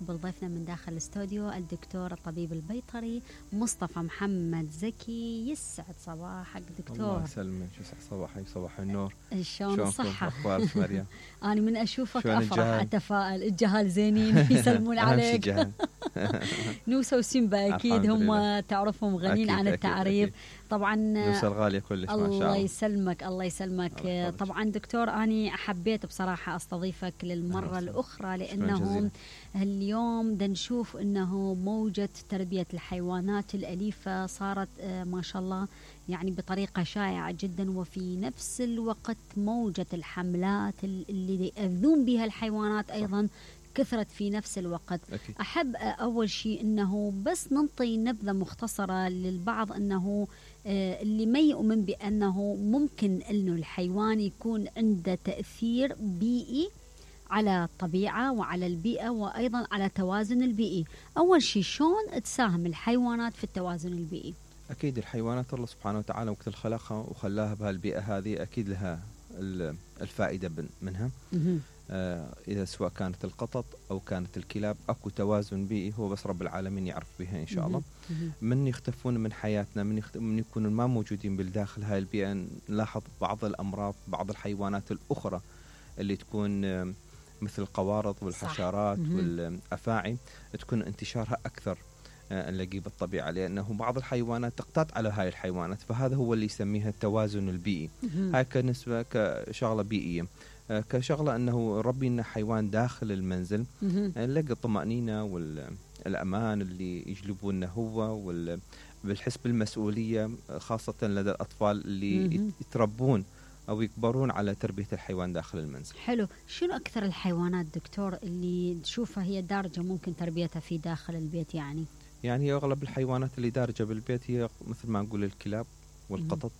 نستقبل ضيفنا من داخل الاستوديو الدكتور الطبيب البيطري مصطفى محمد زكي. يسعد صباحك دكتور. الله يسلمك، يسعد صباحك، صباح النور. شلون الصحة؟ أخبارك مريم؟ أنا من أشوفك أفرح أتفائل. الجهال زينين يسلمون عليك. نوسة وسيمبا أكيد هم تعرفهم غنين عن التعريف. طبعا نوسة الغالية كلش ما شاء الله. الله يسلمك الله يسلمك. طبعا دكتور أنا حبيت بصراحة أستضيفك للمرة الأخرى لأنه اليوم نشوف أنه موجة تربية الحيوانات الأليفة صارت ما شاء الله يعني بطريقة شائعة جدا، وفي نفس الوقت موجة الحملات اللي يأذون بها الحيوانات أيضا كثرت في نفس الوقت. أكيد. أحب أول شيء أنه بس ننطي نبذة مختصرة للبعض أنه اللي ما يؤمن بأنه ممكن أنه الحيوان يكون عنده تأثير بيئي على الطبيعة وعلى البيئة وأيضا على توازن البيئي. أول شيء شلون تساهم الحيوانات في التوازن البيئي؟ أكيد الحيوانات الله سبحانه وتعالى وقت خلقها وخلاها بهالبيئة هذه أكيد لها الفائدة منها. إذا سواء كانت القطط أو كانت الكلاب أكو توازن بيئي هو بس رب العالمين يعرف بها إن شاء الله. من يختفون من حياتنا، من يكونون ما موجودين بالداخل هاي البيئة، نلاحظ بعض الأمراض، بعض الحيوانات الأخرى اللي تكون مثل القوارض والحشرات والأفاعي تكون انتشارها أكثر نلاقيه بالطبيعة، لأنه بعض الحيوانات تقتات على هاي الحيوانات، فهذا هو اللي يسميها التوازن البيئي. هاي كنسبة كشغلة بيئية. كشغلة أنه ربي لنا حيوان داخل المنزل نلاقي الطمأنينة والأمان اللي يجلبونه هو بالحس بالمسؤولية، خاصة لدى الأطفال اللي يتربون أو يكبرون على تربية الحيوان داخل المنزل. حلو. شنو أكثر الحيوانات دكتور اللي تشوفها هي دارجة ممكن تربيتها في داخل البيت؟ يعني أغلب الحيوانات اللي دارجة بالبيت هي مثل ما نقول الكلاب والقطط،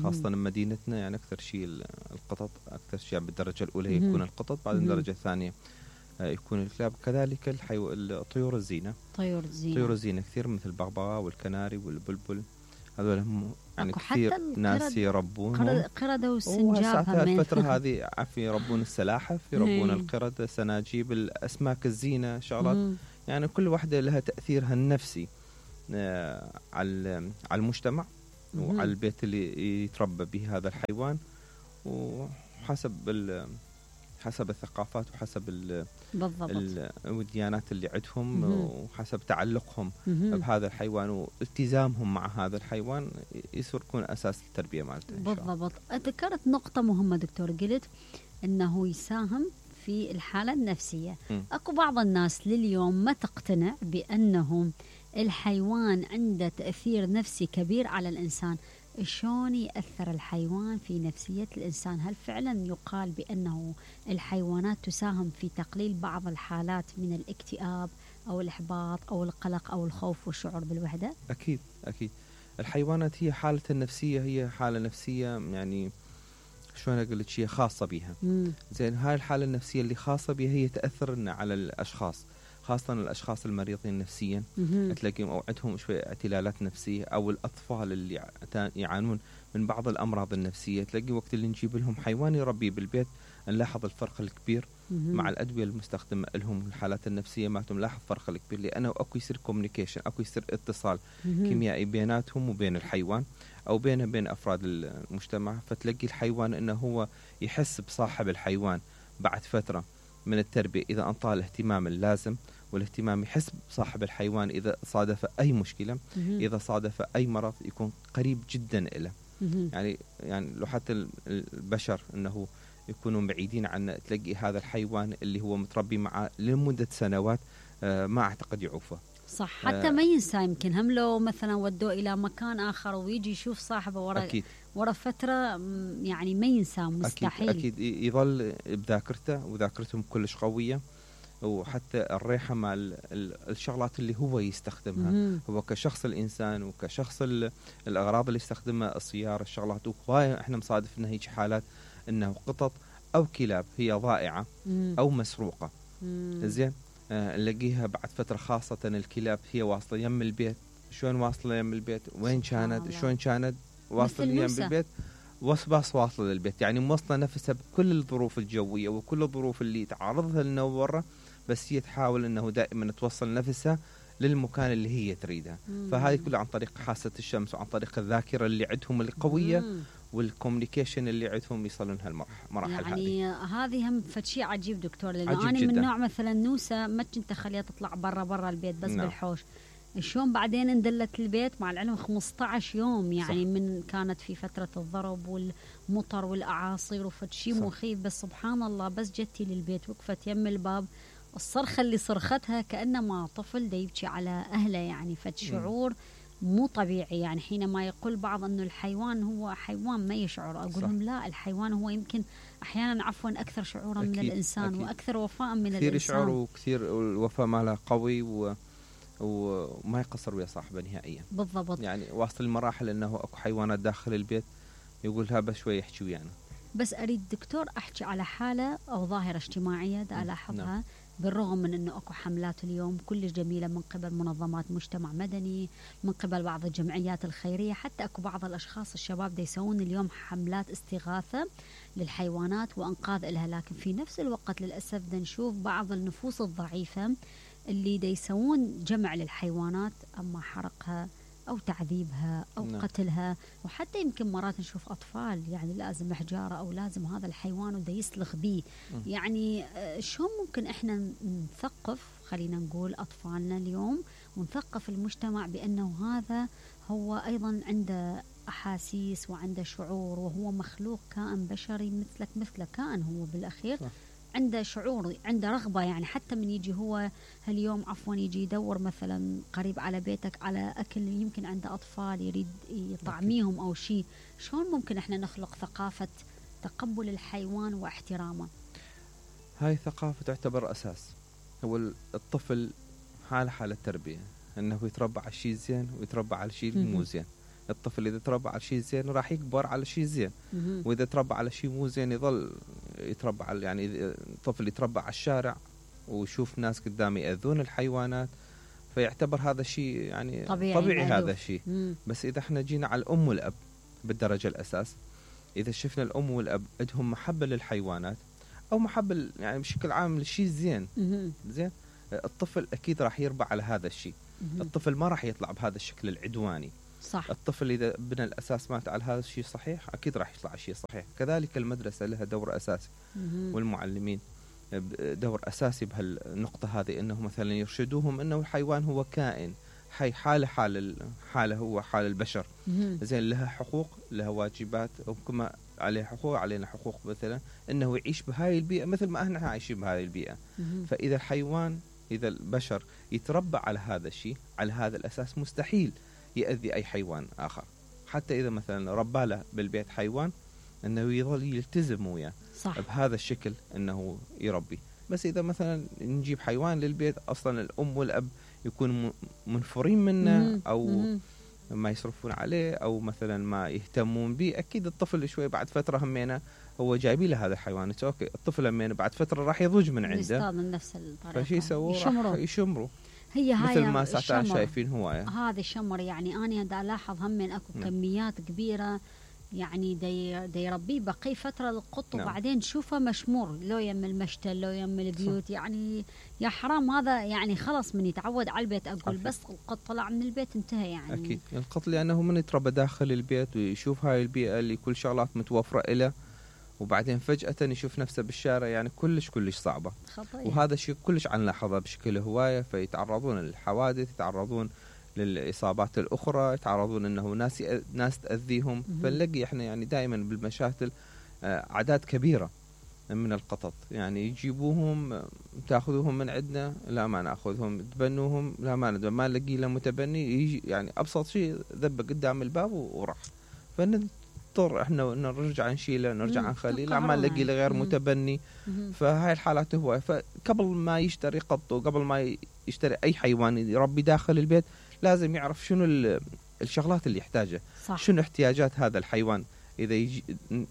خاصة مدينتنا يعني أكثر شيء القطط، أكثر شيء بالدرجة الأولى يكون القطط، بعد الدرجة الثانية يكون الكلاب، كذلك الطيور الزينة. طيور الزينة كثير مثل البغبغاء والكناري والبلبل، هذول هم يعني كثير ناس يربونهم. قردة والسنجاب الفترة هذه يربون السلاحف، يربون القردة، سناجيب، الأسماك الزينة، شغلات يعني كل واحدة لها تأثيرها النفسي على المجتمع وعلى البيت اللي يتربى به هذا الحيوان، وحسب حسب الثقافات وحسب الديانات اللي عندهم وحسب تعلقهم بهذا الحيوان والتزامهم مع هذا الحيوان يصير يكون أساس التربية مالته. بالضبط. ذكرت نقطة مهمة دكتور، قلت أنه يساهم في الحالة النفسية. أكو بعض الناس لليوم ما تقتنع بأنه الحيوان عنده تأثير نفسي كبير على الإنسان. شلون يأثر الحيوان في نفسية الإنسان؟ هل فعلا يقال بأنه الحيوانات تساهم في تقليل بعض الحالات من الاكتئاب أو الإحباط أو القلق أو الخوف والشعور بالوحدة؟ أكيد أكيد. الحيوانات هي حالة النفسية، هي حالة نفسية يعني شلون أقول لك، شيء خاصة بها. زين، هاي الحالة النفسية اللي خاصة بها هي تأثر على الأشخاص، خاصة الأشخاص المريضين نفسيا تلاقيهم أو عندهم شوية اعتلالات نفسية، أو الأطفال اللي يعانون من بعض الأمراض النفسية، تلاقي وقت اللي نجيب لهم حيوان يربيه بالبيت نلاحظ الفرق الكبير مع الأدوية المستخدمة لهم الحالات النفسية ما نلاحظ فرق الكبير، لأنه أكو يصير كوميونيكيشن، أكو يصير اتصال كيميائي بيناتهم وبين الحيوان أو بين أفراد المجتمع، فتلاقي الحيوان أنه هو يحس بصاحب الحيوان بعد فترة من التربية إذا أنطاه الاهتمام اللازم، والاهتمام يحس بصاحب الحيوان إذا صادف أي مشكلة، إذا صادف أي مرض يكون قريب جدا إله. يعني لو حتى البشر أنه يكونوا بعيدين عنه، تلاقي هذا الحيوان اللي هو متربي معه لمدة سنوات ما أعتقد يعوفه. صح. حتى ما ينسى، يمكن هم لو مثلا ودوه إلى مكان آخر ويجي يشوف صاحبه ورا فترة يعني ما ينسى، مستحيل. أكيد يظل بذاكرته، وذاكرتهم كلش قوية، وحتى الريحة مع الشغلات اللي هو يستخدمها هو كشخص الإنسان وكشخص الأغراض اللي يستخدمها، السيارة، الشغلات. وهواية إحنا مصادف إنه هيك حالات إنه قطط أو كلاب هي ضائعة أو مسروقة. زين، نلاقيها بعد فترة، خاصة الكلاب هي واصلة يم البيت. شلون واصلة يم البيت؟ وين كانت؟ شلون كانت واصلة يم البيت؟ باص واصله للبيت، يعني موصله نفسها بكل الظروف الجويه وكل الظروف اللي تعرضها لنا برا، بس هي تحاول انه دائما توصل نفسها للمكان اللي هي تريده. فهذه كلها عن طريق حاسه الشمس وعن طريق الذاكره اللي عندهم القويه والكوميونيكيشن اللي عندهم يصلون هالمراحل. يعني هذه هم فشي عجيب دكتور، لأن أنا جداً. من نوع مثلا نوسة ما كنت أخليها تطلع برا البيت بس بالحوش. شلون بعدين اندلت البيت مع العلم 15 يوم يعني صح. من كانت في فترة الضرب والمطر والأعاصير وفشي مخيف، بس سبحان الله بس جتي للبيت وقفت يم الباب، الصرخة اللي صرختها كأنما طفل دا يبكي على أهله، يعني شعور مو طبيعي. يعني حينما يقول بعض أنه الحيوان هو حيوان ما يشعر، أقول لهم لا، الحيوان هو يمكن أحيانا أكثر شعورا من الإنسان أكيد. وأكثر وفاء من الإنسان. كثير يشعر وكثير الوفاء ماله قوي وما يقصر ويا صاحبه نهائيا. بالضبط. يعني واصل المراحل أنه أكو حيوانات داخل البيت يقولها بس شوي يحكي ويانا. بس أريد دكتور أحكي على حالة أو ظاهرة اجتماعية دا ألاحظها بالرغم من أنه أكو حملات اليوم كل جميلة من قبل منظمات مجتمع مدني، من قبل بعض الجمعيات الخيرية، حتى أكو بعض الأشخاص الشباب دا يسوون اليوم حملات استغاثة للحيوانات وأنقاذ إلها، لكن في نفس الوقت للأسف دا نشوف بعض النفوس الضعيفة اللي دا يسوون جمع للحيوانات، أما حرقها أو تعذيبها أو قتلها، وحتى يمكن مرات نشوف أطفال يعني لازم حجارة أو لازم هذا الحيوان ودا يسلخ به. يعني شو ممكن إحنا نثقف، خلينا نقول أطفالنا اليوم، ونثقف المجتمع بأنه هذا هو أيضا عنده أحاسيس وعنده شعور، وهو مخلوق كائن بشري مثلك كائن هو بالأخير صح. عنده شعور، عنده رغبة، يعني حتى من يجي هو هاليوم يجي يدور مثلا قريب على بيتك على أكل، يمكن عنده أطفال يريد يطعميهم أو شيء، شلون ممكن إحنا نخلق ثقافة تقبل الحيوان واحترامه؟ هاي ثقافة تعتبر أساس. هو الطفل حالة تربية، أنه يتربى على الشيء زين ويتربى على الشيء مو زين. الطفل إذا تربى على شيء زين راح يكبر على شيء زين، وإذا تربى على شيء مو زين يظل يتربى على، يعني الطفل يتربى على الشارع ويشوف ناس قدامه يأذون الحيوانات، فيعتبر هذا الشيء يعني طبيعي هذا الشيء. بس إذا احنا جينا على الأم والأب بالدرجة الأساس، إذا شفنا الأم والأب عندهم محبة للحيوانات أو محبة يعني بشكل عام للشيء زين، الطفل أكيد راح يربى على هذا الشيء. الطفل ما راح يطلع بهذا الشكل العدواني صح. الطفل إذا بنى الأساس مات على هذا الشيء صحيح أكيد راح يطلع شيء صحيح. كذلك المدرسة لها دور أساسي والمعلمين دور أساسي بهالنقطة هذه، أنه مثلا يرشدوهم أنه الحيوان هو كائن حي، حاله هو حال البشر، زين لها حقوق لها واجبات، وكما عليه حقوق علينا حقوق، مثلا أنه يعيش بهاي البيئة مثل ما احنا عايشين بهاي البيئة. فإذا الحيوان، إذا البشر يتربى على هذا الشيء على هذا الأساس، مستحيل يأذي أي حيوان آخر. حتى إذا مثلا ربى له بالبيت حيوان، أنه يظل يلتزم وياه بهذا الشكل أنه يربي. بس إذا مثلا نجيب حيوان للبيت أصلا الأم والأب يكونوا منفرين منه أو ما يصرفون عليه أو مثلا ما يهتمون به، أكيد الطفل شوي بعد فترة همينة هو جايبي له هذا الحيوان، أوكي الطفل همينة بعد فترة راح يضج من عنده من نفس الطريقة، فشي يسووه يشمروا هي مثل ما ساعتها شايفين هواية. هذا الشمر يعني أنا دا ألاحظ همين أكو كميات كبيرة، يعني دا يربيه بقي فترة القط وبعدين شوفه مشمور لو يم المشتل لو يم البيوت. يعني يا حرام هذا، يعني خلص من يتعود على البيت أقول بس القط طلع من البيت انتهى. يعني أكيد القط لأنه من يتربى داخل البيت ويشوف هاي البيئة اللي كل شغلات متوفرة إله، وبعدين فجأة يشوف نفسه بالشارع، يعني كلش صعبة خطير. وهذا الشيء كلش عن لاحظه بشكل هواية، فيتعرضون للحوادث، يتعرضون للإصابات الأخرى، يتعرضون أنه ناس تأذيهم. فنلاقي إحنا يعني دائما بالمشاتل أعداد كبيرة من القطط، يعني يجيبوهم تأخذوهم من عندنا لا ما نأخذهم، تبنوهم لا ما نلاقي له متبني، يجي يعني أبسط شيء ذبه قدام الباب وراح، فنضطر إحنا نرجع نشيله نرجع نخليه لا ما نلاقي له غير متبني. فهاي الحالات هو، فقبل ما يشتري قط وقبل ما يشتري أي حيوان يربي داخل البيت لازم يعرف شنو الشغلات اللي يحتاجها، شنو احتياجات هذا الحيوان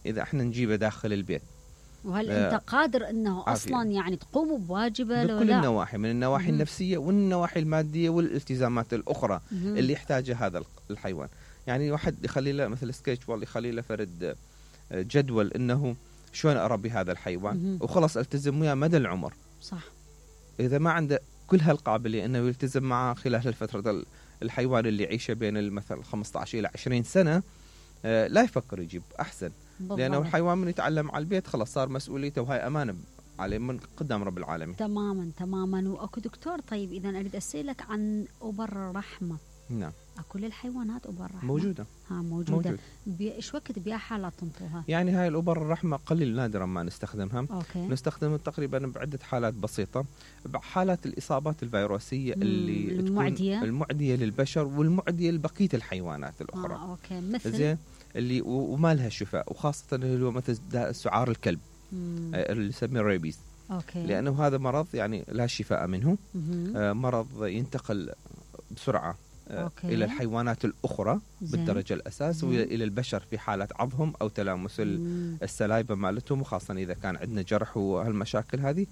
إذا احنا نجيبه داخل البيت، وهل أنت قادر أنه أصلا يعني تقوم بواجبه لو بكل النواحي، من النواحي النفسية والنواحي المادية والالتزامات الأخرى اللي يحتاجها هذا الحيوان. يعني واحد يخلي له مثل سكيتش والله يخلي له فرد جدول انه شلون اربي هذا الحيوان وخلص التزم وياه مدى العمر. صح. اذا ما عنده كل هالقابليه انه يلتزم معه خلال الفتره الحيوان اللي يعيشه بين مثلا 15 الى 20 سنه، لا يفكر يجيب احسن. بالضبط. لانه الحيوان من يتعلم على البيت خلاص صار مسؤوليته، وهاي امانه عليه من قدام رب العالمين. تماما. واكو دكتور، طيب اذا اريد اسالك عن ابر الرحمه. نعم. اكو للحيوانات ابر رحمه؟ موجوده. موجود. ايش وقت بيها حالات تنطوها؟ يعني هاي الابر الرحمه قليل نادرا ما نستخدمها. أوكي. نستخدمها تقريبا بعده حالات بسيطه، بحالات الاصابات الفيروسيه اللي المعديه للبشر والمعديه لبقيه الحيوانات الاخرى. اوكي. مثل زين اللي وما لها شفاء، وخاصه اللي هو مثل سعار الكلب اللي يسميه ريبيز. أوكي. لانه هذا مرض يعني لا شفاء منه. مرض ينتقل بسرعه إلى الحيوانات الأخرى بالدرجة الأساس، وإلى البشر في حالة عضهم أو تلامس السلايبة مالتهم، وخاصة إذا كان عندنا جرح وهالمشاكل هذه.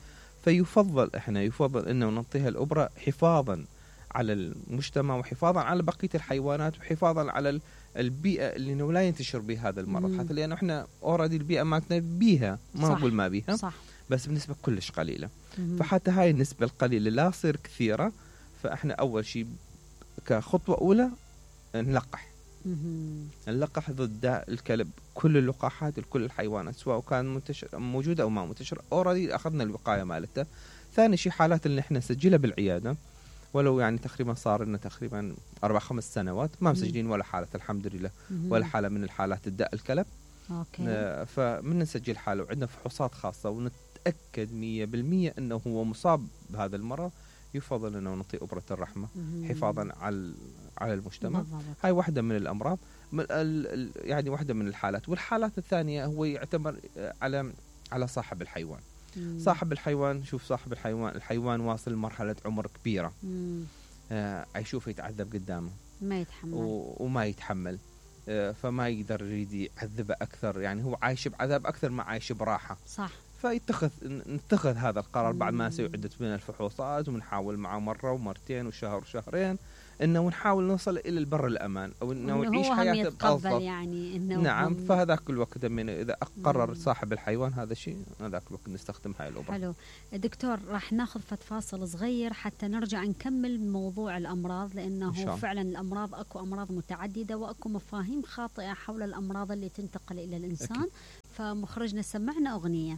فيفضل إنه نعطيها الأبرة حفاظا على المجتمع، وحفاظا على بقية الحيوانات، وحفاظا على البيئة اللي لا ينتشر بها هذا المرض. حتى لأنه إحنا أوريدي البيئة مالتنا بيها، ما أقول ما بيها. صح. بس بنسبة كلش قليلة. فحتى هاي النسبة القليلة لا تصير كثيرة. فإحنا أول شيء كخطوة أولى نلقح ضد الكلب كل اللقاحات لكل الحيوانات، سواء كان موجودة أو ما منتشر. أوريدي أخذنا الوقاية مالته. ثاني شيء حالات اللي احنا نسجلها بالعيادة، ولو يعني تقريبا صار لنا تقريبا 4-5 سنوات ما مسجلين ولا حالة الحمد لله، ولا حالة من الحالات الداء الكلب. أوكي. فمن نسجل حالة وعندنا فحوصات خاصة ونتأكد 100% أنه هو مصاب بهذا المرض، يفضل أنه نعطي أبرة الرحمة حفاظا على المجتمع. هاي واحدة من الأمراض، يعني واحدة من الحالات. والحالات الثانية هو يعتبر على صاحب الحيوان. صاحب الحيوان، شوف صاحب الحيوان واصل لمرحلة عمر كبيرة، يشوف يتعذب قدامه ما يتحمل وما يتحمل، فما يقدر يريد يعذبه أكثر. يعني هو عايش بعذاب أكثر ما عايش براحة. صح. فنتخذ هذا القرار بعد ما نسوي عدة من الفحوصات، ونحاول معه مرة ومرتين وشهر وشهرين انه نحاول نوصل الى البر الامان، او انه يعيش حياته بافضل. يعني انه نعم. فهذاك الوقت من اذا قرر صاحب الحيوان هذا الشيء، هذاك الوقت نستخدم هاي الابر. حلو دكتور، راح ناخذ فاصل صغير حتى نرجع نكمل موضوع الامراض، لانه فعلا الامراض اكو امراض متعدده، واكو مفاهيم خاطئه حول الامراض اللي تنتقل الى الانسان. فمخرجنا سمعنا اغنيه.